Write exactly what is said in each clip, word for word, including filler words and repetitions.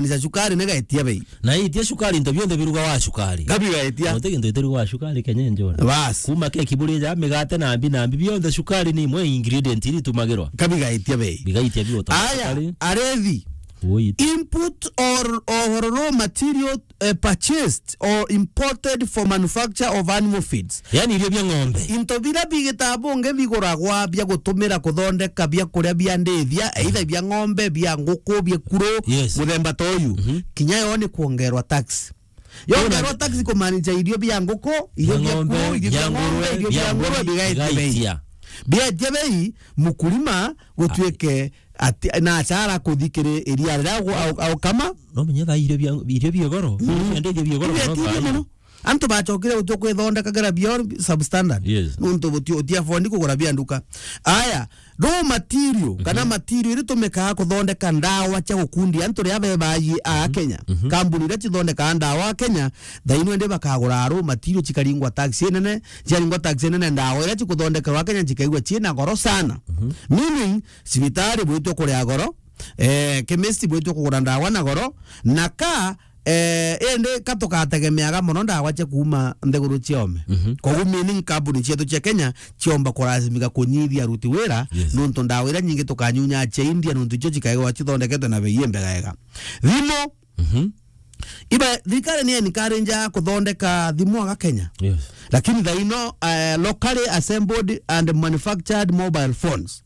Ni cia cukari ni gaitia bei. Na itia cukari, into bionthe biruga wa cukari. Gabi gaitia. Gute kintu itiruga wa cukari Kenya njona. Bas. Kuma keki buri ja migate na mbi na mbi, bionthe cukari ni imwe ingredient iri itumagirwa. Gabi gaitia bei. Bigaitia biota. Aya, cukari. Arethi. Ui. Input or, or raw material, eh, purchased or imported for manufacture of animal feeds. Yani irio bia ng'ombe. Into biria bigita bungi biguragwa bia gutumira kuthondeka biakuria bia ndithia, either bia ng'ombe, bia nguku, bia kuru, yes, muthemba ta uyu. Mhm. Kinya yo ni kuongerwa tax. Yongerwa tax kumaanisha irio bia nguku, irio bia kuru, irio bia ng'ombe, irio bia ngurwe, bigaetia bei. Bigaetia bei, mukulima gutuike ati, na achara kuthi kiri iria riria au-, au-, aukama. No menye thaa irio bia, irio bia goro. Mm. Irio bia goro. Irio bia goro. Antu bachokire gutua kwithondekagira bio substandard. Yes. Nuntu buti-, uti afford kugura bia nduka. Aya, raw material, kana material iri tumikaga kuthondeka ndawa cia gukundia antu ria bebayi a Kenya. Mhm. Kambuni iria cithondekaga ndawa a Kenya, thaino indi bakagura raw material cikaringwa tax inene, ciaringwa tax inene, ndawa iria cikuthondekerwa Kenya cikaigua ciina goro sana. Mhm. Meaning, cibitari bwitwe kuria goro, eh, chemist bwitwe kugura ndawa na goro, na ka, eh, indi ka tugategemeaga mono ndawa cia kuuma nthiguru ciome. Mhm. Koguo meaning kambuni cietu cia Kenya ciomba kurazimika kunyithia aruti wira, yes, nuntu ndawa iria nyingi tukanyunya cia India, nuntu icio cikaigwa cithondeketwe na bei imbegega. Thimu. Mhm. Iba, thirikari ni encourage kuthondeka thimu aga Kenya. Yes. Lakini thaino, eh, locally assembled and manufactured mobile phones.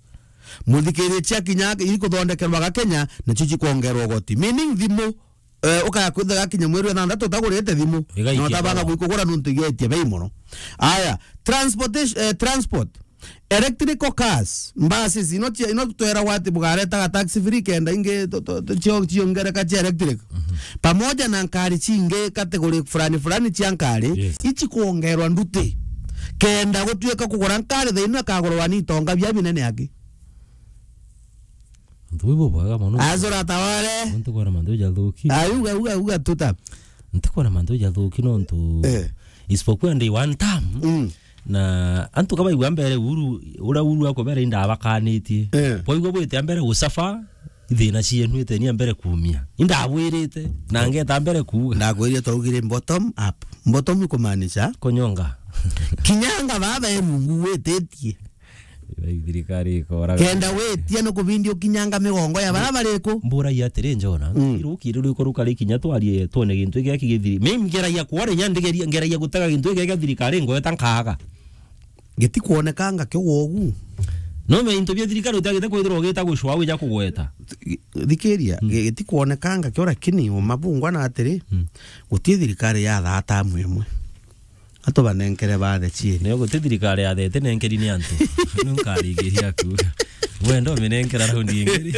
Muthikiriria cia kinya iri kuthondekerwa aga Kenya, nacio cikongerwa ugoti. Meaning thimu, eh, ukaya kwitha gakinya mweri wa thantatu utagurite thimu. Igaikia na utabanga goro. Gwikugura nuntu igetie bei mono. Aya, transportation, eh, transport. Electrical cars, buses, ino cia, ino tweragwa ati bugaretaga tax free kenda ingi tu-, tu-, tu-, cio-, ciongereka cia electric. Mhm. Pamoja na nkari cingi category fulani fulani cia nkari, yes, ici kuongerwa nduti. Kenda gutuika kugura nkari thaino akagurwa ni itonga bia binene aki. Antu bwi bubwega mono. Azora taware. Antu kwona mantu jathuki. Ayuga, uga, uga tuta. Ntikwona mantu jathuki nontu, eh, isipokuwa ndi one term, mm, na antu kabaigua mbere Uhuru, uria Uhuru akubera indabakanitie. Eh. Bwaigua bwite mbere gusafa, ithina cienu itenia mbere kumia. Indabwirite, na ngeta mbere kuuga. Ndakwirie twaugire bottom up. Bottom kumaanisha? Kunyonga. Kinyanga baba erungu wititie. Thirikari ikoraga. Kenda witia no kubindi ukinyanga migongo ya bara bariku. Mburagia atiri, Njona, mm, iruki riu riko rukari kinya twarie twone gintu giki githiri. Mimi ngeragia kwona nya ndigeria, ngeragia gutega gintu giki gia thirikari ngweta nkaga. Gitikwonekanga kio wogu. No me into bia thirikari utagite kwithirwa ugita gucwa wija kugweta. Thikiria, mm, gi-, gitikwonekanga kio, lakini umabungwa na atiri, mm, guti thirikari ya thata amwe imwe. Antu banenkere bathe ciiri. Nio guti thirikari ya thete nenkeri ni antu. Niu nkaringiria kuuga. Wenda uminenkera raundi ingi ri?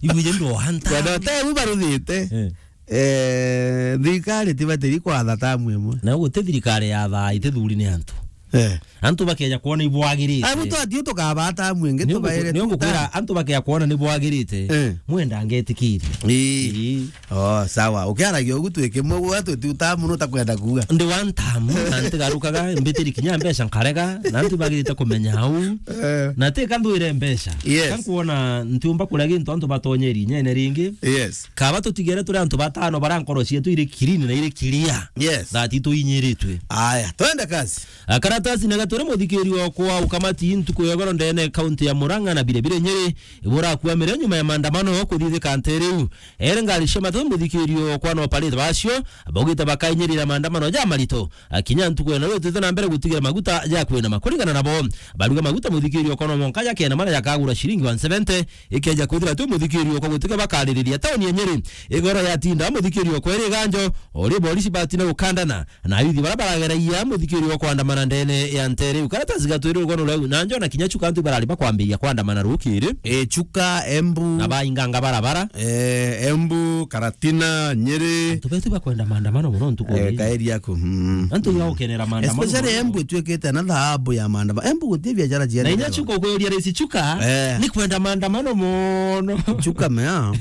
Ibuje ndo hanta. Wenda te u baruthite. Eh. Eh, thirikari tibatiri kwatha tamu imwe. Na guti thirikari ya thaa itithuri ni antu. Eh. Antu bakeja kwona ibwagirite. Abu twatio tukabata amwe ingi. Nio tubaire nio tuta- ngukwira, antu bakeja kwona ni bwagirite. Eh. Mwenda ngetikiria. Ii. Ii. Oh, sawa. Ukiaragia ugu twi kimwe, gwa twi tu tamu no takwenda kuuga. Ndi one term, na ntigarukaga, mbitiri kinya mbeca nkarega, na antu bagirite kumenya au. Eh. Na ti ka ndwire mbeca. Yes. Ka nkuona ntiumba kuria gintu antu batonyeri inyene ringi. Yes. Kaba tutigere turi antu batano bara nkoro cietu iri clean na iri clear. Yes. That tuinyiritwe. Aya, twende kazi. Akaratasi na gaturi muthikiri okwa ukamati ntuku ya goro ndene kaunti ya Murang'a na bire bire Nyeri. Iburakuamire nyuma ya maandamano kuthithika nte riu. Ere ngari cia matatu muthikiri okwa na operate bacio, baugite bakainyirira maandamano ja marito. Akinya ntuku eno rutite na mbere gutigira maguta ja kwinama. Kuringana nabo, baruga maguta muthikiri okwa no monka ja kenama na jakagura ciringi one seventy, ikeja kwithira tu muthikiri okwa gutika bakaririria tauni ya Nyeri. Igoro yatinda muthikiri okwa iri ganjo, ori borisi batina gukandana. Na ayuthi bara barageragia muthikiri wa kwandamana ndene ya ntere iu. Karatasi gatwire rugano rwau, na Njona kinya Chuka antu barari bakwambiria kwandamana rukiri. E, Chuka, Embu. Na bainganga barabara. E, Embu, Karatina, Nyeri. Antu betu bakwenda maandamano muno ntuku. E, kaeri yaku. Mm. Antu iba gukenera maandamano. Especially muno. Embu itwikite na thahabu ya maandamano. Embu guti biashara ciene. Na inya Chuka ukweria raisi Chuka. E. Ni kwenda maandamano muno. Chuka mea.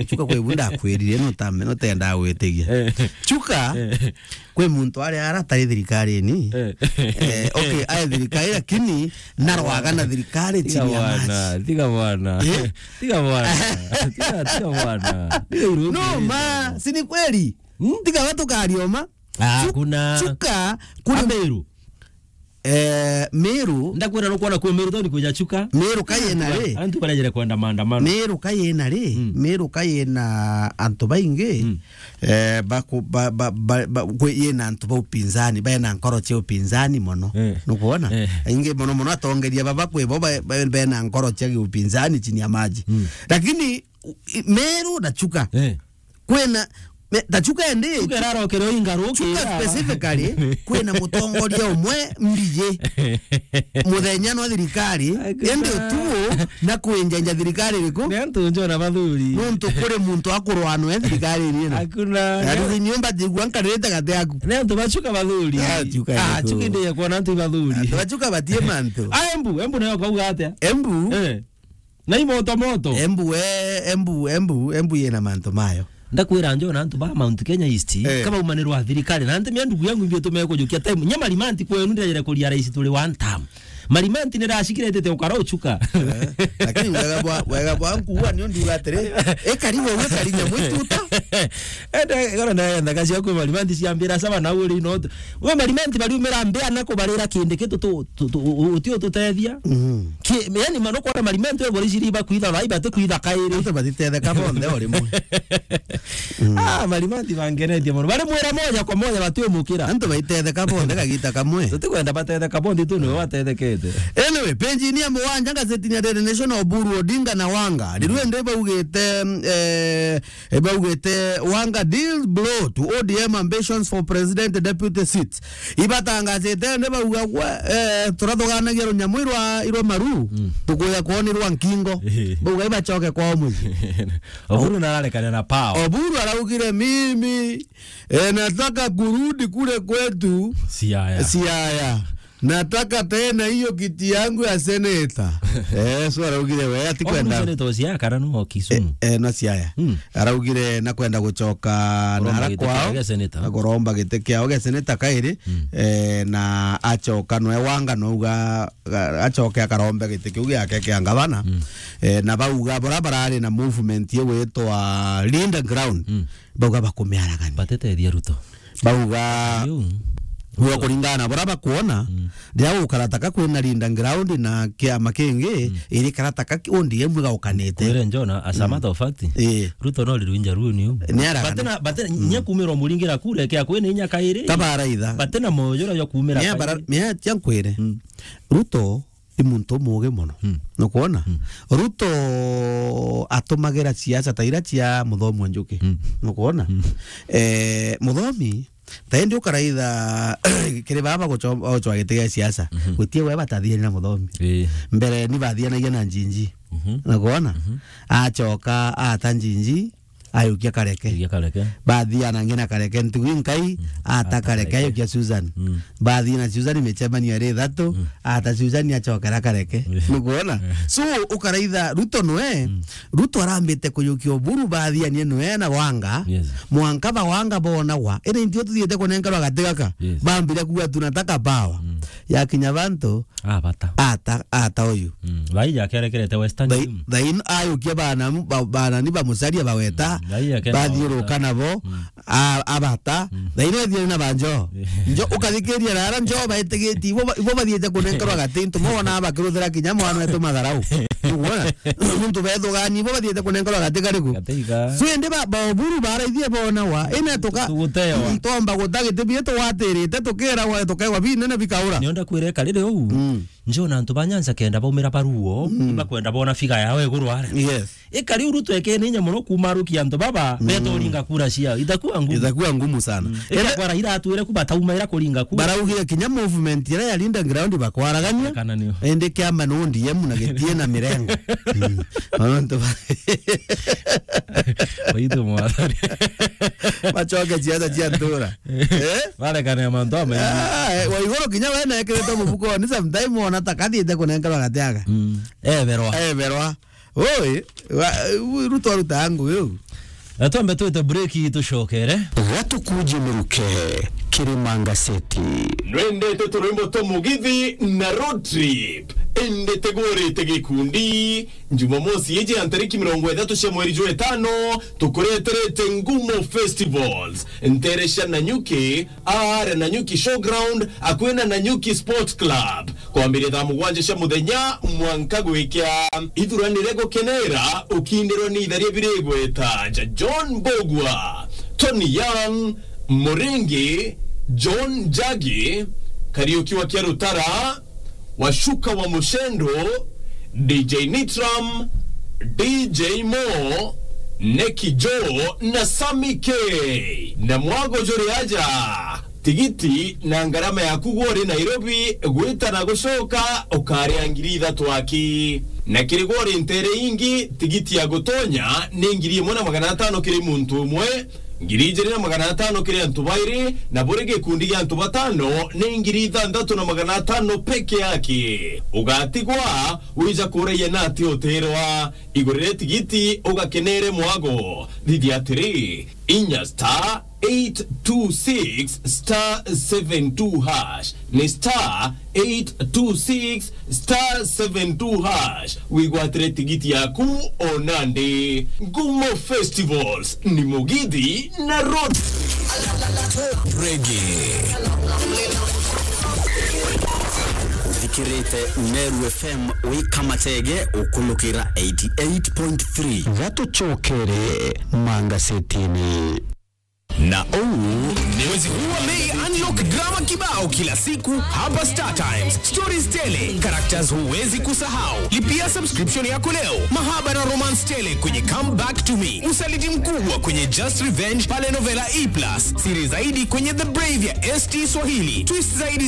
Chuka kwa ibunda akwirire no tame, no tenda gwitigia. E. Chuka. E. Kwi muntu ari ara atari thirikarini. Eh. Eh, okay, ai thirikari, lakini narwaga na thirikari chini ya maji. Tiga bwana, tiga bwana. Eh? Tiga bwana. Tiga, tiga bwana. Tiga iruhusu. No, ma, si ni kweli? Hmm? Tiga watu karioma. Ah, Chu-, kuna Chuka, kuna Ameru. Eh, Meru. Ndakwira nukwona kuo Meru town kwija Chuka. Meru kayena ri? Antu barejere kwenda maandamano. Meru kayena ri? Mm. Meru kayena antu baingi. Mm. Eh, baku-, ba, ba, ba, ba, kwi-, yena antu ba upinzani, bena nkoro cia upinzani mono. Eh. Nukwona? Eh. Ingi mono mono atongeria baba kwi bo ba, ba, bena nkoro cia upinzani chini ya maji. Mm. Lakini, u-, i-, Meru na Chuka. Eh. Kwina, me-, ta Chuka endi. Chuka irarokere o ingaru, Chuka specifically, kwina mutongoria umwe mbiji. Muthenya no thirikari, endi utuo na kwinjenja thirikari iriku? Ni antu njona bathuri. Nuntu kuri muntu akurwa no e thirikari iriku. Hakuna. Ati nyumba jigua nkarite gati yaku. Ni antu ba Chuka bathuri. Ah, Chuka iriku? Chuka ndi ya kuona antu bathuri. Antu ba Chuka batie mantu. Ah, Embu, Embu nayo kauga atia? Embu. Eh. Na imoto moto. Embu we, Embu, Embu, Embu yena mantu mayo. Ndakwira njona antu ba Mount Kenya East, eh, kama umanirwa thirikari, na ntimia ndugu yangu imbi utume kujukia time. Nya Marimanti kwenu ndirejere kuria rais turi one term. Marimanti nirashikirete te ukara uchuka. Eh, lakini wega bwa, wega bwa nkuwa ni undu atiri. E karibu we karinya mwituta. Ende, goro na enda kacia kwi Marimanti ciambira saba na uri no. We Marimanti bariumira mbea na kubarira kindi kitu tu, tu, tu, u-, u-, uti ututethia. Mhm. Ki-, yani, mano kwona Marimanti we bori ciri bakwitha bai bati kwitha kairi. Antu batitetheka bonthe o rimwe. Mm. Ah, Marimanti bangenetie mono. Bari mwira moja kwa moja batiumukira. Antu baitetheka bonthe kagita kamwe. Tutikwenda batetheka bonthe tu niwe watethekete. Anyway, page ni ya mugwanja ngazetini ya Daily Nation, Oburu, Odinga na Wanga. Riu ende baugite, eh, E, baugite, Wanga deals blow to O D M ambitions for president deputy seat. Ibatangazite ni bauga gwa, eh, turathuganagia runyamu irwa, irwa maru, mm, tukuya kwonirwa nkingo. Ehe. Bauga ibacoke kwao mucii. Oburu nararekania na pao. Oburu araugire, "Mimi, eh, nataka kurudi kule kwetu." Siaya. Siaya. Nataka tena hiyo kiti yangu ya seneta. Eh, so araugire we atikwenda. Seneta o Siaya kana no Kisumu? Eh, eh, no Siaya. Mm. Araugire nakwenda gucoka na ara kwao. Kuromba giti kiao gia seneta. Na kuromba giti kiao gia seneta kairi, mm, eh, na acoka nwe Wanga nouga, ga-, acoke akarombe giti kiu giake kia ngavana. Mm. Eh, na bauga bora barari na movement igwitwa Linda Ground. Mm. Bauga bakumiaragania. Batetethia Ruto. Bauga, riu, we kuringana na bura bakuona, mm, riria gukarataka kwina Linda Ground na kiama kingi, mm, iri karataka ki-, O D M igaukanite. Kwire Njona, as a, mm, matter of fact, eh, Ruto no riru inja ruu niu. Ni aragana. Batena, batena, mm, nya kumira umuringira kura kia kwina inya kairi. Kabaraitha. Batena moyo jura jwa kumira kairi. Ni abara-, ni atia nkwire. Mm. Ruto i muntu umugi mono. Mm. Nukwona? Mm. Ruto atumagira siasa ta iria cia Muthomi wa Njuki. Mm. Nukwona? Mm. Eh, Muthomi, ta indi ukaraitha kiri baba guco-, gucwa giti gia siasa. Mhm. Gwitie we batathiani na Muthomi. Ii. Mbere ni bathianagia na Njinji. Mhm. Nukwona? Mhm. Acoka ata Njinji, ayukia Kareke. Ayukia Kareke. Bathiana ngina Kareke, ntugu inkai, mm, ata, ata Kareke, Kareke, ayukia Susan. Mm. Bathi na Susan micemanio iri ithatu, mm, ata Susan acokera Kareke. Mm. Nukwona? Mm. So, ukaraitha Ruto nwe, mm, Ruto arambite kuyukia Oburu bathianie nwe na Wanga, yes, mwanka ba Wanga bonagwa. Indi ntio tuthiite kunenkerwa gati gaka. Yes. Bambire kuuga, "Tunataka power." Mm. Yakinya bantu, Abata. Ata, ata uyu. Mm. Thaija akerekerete Western Union. Thaino ayukia bana, ba-, bana ni bamucaria baweta. Mm. Thaija akenda bathiuruka nabo. Mm. A-, abata. Mm. Thaino ethiani na banjo. Njo ukathikiria rara njo baitigitie. Ibo ba-, ibo bathiite kunenkerwa gati. Ntu mona bakiruthira kinya mwana wetu matharau. Uguona? Ntu bethugani ibo bathiite kunenkerwa gati kariku. Gati iga. So indi ba, ba Oburu baraithie bona wa. Ina tuka-, tugutewa. Ntomba gutagite bie tugwatirite tukira wa tukaigwa binene bikaura. Nionda kwire karire uu. Mm. Njona antu ba Nyanza kenda baumira baruo, mm, ibakwenda bona figa yao iguru aria. Yes. Ikari uru twekene inya mono kumarukia antu baba, mm, betoringa kura ciao. Itakuwa ngumu. Itakuwa ngumu sana. Mm. Ende- Ikakwara ira atwire ku batauma ira kuringa kura. Baraugire kinya movement ira ya Linda Ground bakwaragania. Kana nio. Ende kiama no O D M na gitie na mirengo. Mm. Antu ba- Baitu mwathani. Machoke ciaca cia ntura. Eh? Barekane mantu amaingi. Ah, eh, wa iguru kinya we na ekirite mufuko ni sometime ona ta kathiite kunenkerwa gatiaga. Mm. Eberwa. Eberwa. Oi, wa, u-, Ruto aruta ngugi u. Twambe twite break, tucokere. Gatukuje miruke kiri Mangaceti. Nwendete turwimbo twa Mugithi na Road Trip? Indi tigurite gikundi. Jumamosi iji ya ntariki mirongo ithatu cia mweri jwa itano, tukureterete Ngumo Festivals, ntere cia Nanyuki, aare Nanyuki Showground, akui na Nanyuki Sports Club, kwambiria thaa mugwanja cia muthenya mwanka gwikia. Ithuranire gukenera ukindirwa ni itharia biri igweta ja John Mbugua, Tony Young, Muringi, John Njagi, Kariuki wa Kiarutara, Washuka wa Mushendo, D J Nitram, D J Mo, Neki Joe na Sammy K. Na mwago juri aja, tigiti na ngarama yaku gwe uri Nairobi gwita na gucoka ukaria ngiri ithatu aki. Na kiri gwe uri ntere ingi, tigiti ya gutonya ni ngiri imwe na magana atano kiri muntu umwe, ngiri ijiri na magana atano kiri antu bairi, na buri gikundi gia antu batano ni ngiri ithanthatu na magana atano peke yake. Ugatigwa wija kuragia nati utirwa. Igurire tigiti ugakenere mwago. Thithia atiri, inya star eight two six star seven two hash. Ni star eight two six star seven two hash. Wigwatire tigiti yaku o nandi. Ngumo Festivals ni Mugithi na Road. Reggae. Uthikirite Meru F M wi Kamatege ukulukira eighty eight point three. Gatucokere mangasetini. Na uu ni mwezi huu wa Mei, unlock drama kibao kila siku hapa Star Times. Stories tele, characters huwezi kusahau. Lipia subscription yako leo. Mahaba na romance tele kwenye Come Back to Me. Usaliti mkubwa kwenye Just Revenge pale Novela E plus. Siri zaidi kwenye The Brave ya S T Swahili. Twist zaidi